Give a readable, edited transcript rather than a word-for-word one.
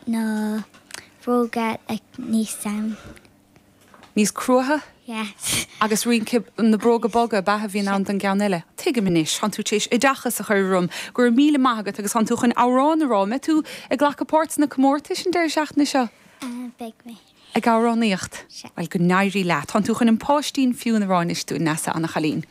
Na bróga like níos um. Níos cruaithe? Yes. Agus rince na bróga boga ab ea a bhíonn ann don gceann eile. Tuigim anois, tánn tú tar éis oideachas a chur orm. Go raibh míle maith agat agus tánn tú chun amhrán a rá. An mbeidh tú ag glacadh páirt sna comórtais an deireadh seachtaine seo? Beidh mé. Ag amhránaíocht? Sea. Bhuel, go n-éirí leat. Tánn tú chun An Páistín Ciúin a rá anois dúinn, Neasa, ana chailín.